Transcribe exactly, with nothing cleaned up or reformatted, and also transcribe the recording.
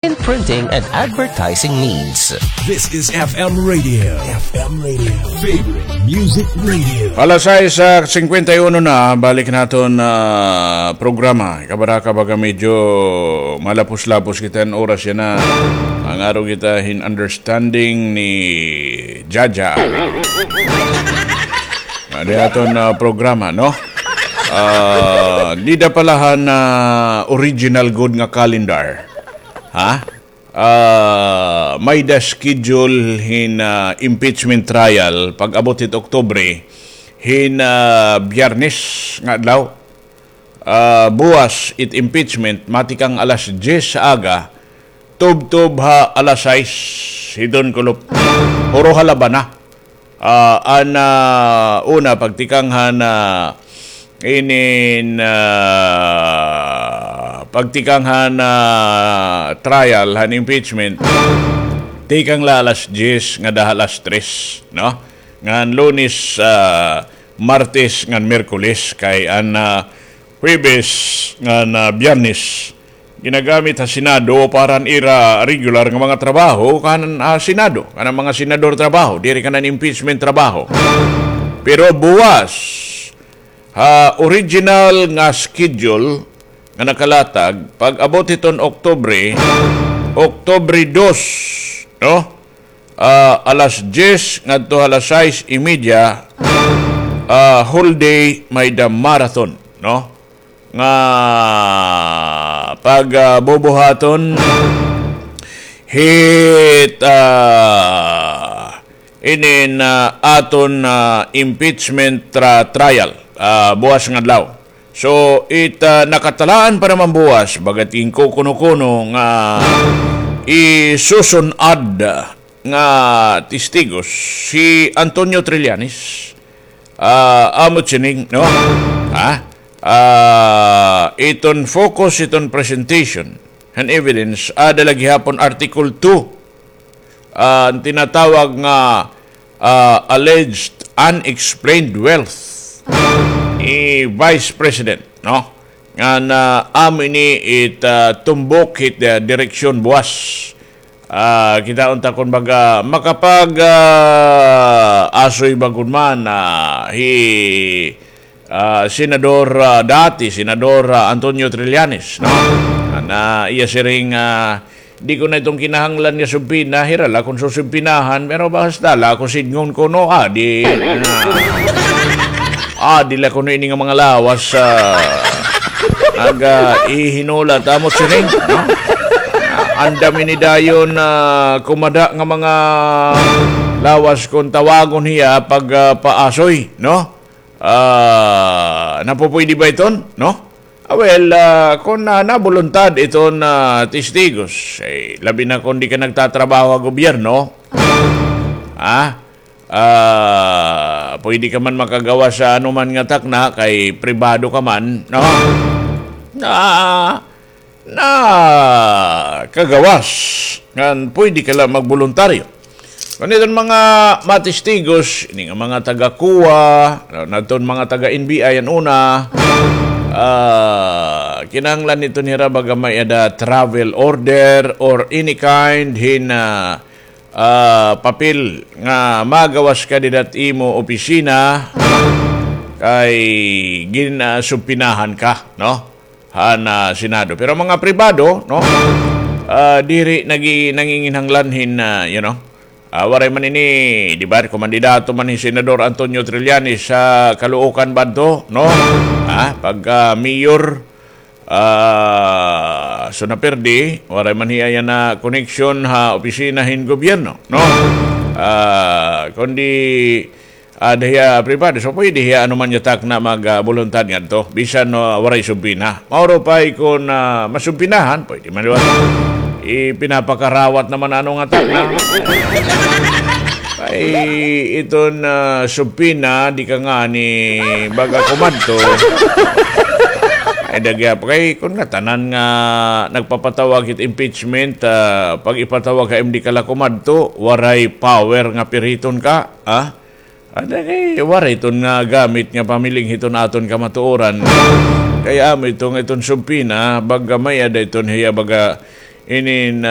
in printing and advertising needs. This is F M Radio. F M Radio. Favorite Music Radio. Alas sais, ah, singkwenta y uno na, balik naton, ah, programa. Kabaraka, baga medyo malapos-lapos kita hin oras yana. Mangaro kita hin understanding ni Jaja. Adi aton, ah, programa, no? Ah, dida pala han, ah, original gud nga calendar. Ha? Ah, may-ada schedule hin, ah, impeachment trial pag-abot hit Oktubre hin, ah, Biyernes nga adlaw. Ah, buwas it impeachment, matikang alas diyes ha aga, tubtob ha alas sais hiton kulop. Puro ha labana. Ah, an, ah, una, pagtikang han, ah, inin, ah, pagtikang han, ah, trial, han impeachment, tikang la alas diyes ngada ha alas tres, no? Ngan Lunes, ah, Martes, ngan Miyerkules, kay an, ah, Huwebes ngan, ah, Biyernes, ginagamit ha Senado para han ira regular nga mga trabaho kan, ah, Senado, kan mga senador trabaho, diri kan impeachment trabaho. Pero buwas, ha original nga schedule nga nakalatag, pag-abot hiton Oktubre, Oktubre dos, no? Ah, alas diyes ngadto ha alas sais y media, ah, whole day may-ada marathon, no? Nga pag, ah, bubuhaton hit, ah, inin, ah, aton, ah, impeachment tra-, trial, ah, buwas nga adlaw. So, it, ah, nakatalaan pa naman buwas, bagat ginkukuno-kuno nga isusun-ad nga testigos si Antonio Trillanes, ah, amo siring, no? Ha? Ah, iton focus, iton presentation, han evidence, ada la gihapon Article two, ah, an tinatawag nga, ah, alleged unexplained wealth ni Vice President, no? Ngan, ah, amo ini it, ah, tumbok hit, ah, direksyon buwas. Ah, kitaon ta kon baga makapag, ah, asoy ba gud man, ah, hi, ah, Senador, ah, dati Senador, ah, Antonio Trillanes, no? An iya siring, ah, di ko na iton kinahanglan nga subpina, hira la kon susubpinahan, pero basta la ako sidngon kuno, adi, ah, adi la kuno ini nga mga lawas, ah, nag, ah, ihinulat, amo siring, no? Andam ini dayon, ah, kumada nga mga lawas kon tawagon hiya pag, ah, paasoy, no? Ah, napupuydi ba iton, no? Ah, well, ah, kon, ah, nabuluntad iton, ah, testigos, eh, labi na kon di ka nagtatrabaho ha gobyerno, ah, ah, puydi ka man makagawas ha anuman nga takna kay pribado ka man, no? Ah, nakagawas ngan puydi ka la magboluntaryo. Kon iton mga matestigos, ini nga mga taga-COA, ngadton mga taga-N B I an una, ah, kinahanglan iton hira baga may-ada travel order or any kind hin, ah, ah, papel nga magawas ka dida hit imo opisina kay gin, ah, subpinahan ka, no? Han, ah, Senado. Pero mga pribado, no? Ah, diri nagi-, nanginginhanglan hin, ah, you know, ah, waray man ini, di ba, kumandidato man hi Senador Antonio Trillanes sa Caloocan ba adto, no? Ah, pagka mayor, ah, so napirdi, waray man hiya yana koneksyon ha opisina hin gobyerno, no? Ah, kundi ada hiya pribado. So, pwede hiya ano man nga takna mag, ah, buluntad ngadto. Bisan, no, waray subpina. Mauro pa kon, ah, masubpinahan, pwede man, di ba? Ipinapakarawat naman ano nga takna. Ay, iton, ah, subpina, di ka ngani baga kumadto. Ay, dagya pa kay, kon ngatanan nga nagpapatawag hit impeachment, ah, pag ipatawag ka, di ka la kumadto, waray power nga piriton ka, ah? Ada kay waray iton nga gamit nga pamiling hiton aton kamatuoran. Kay amo iton, iton subpina, baga may-ada iton hiya baga inin, ah,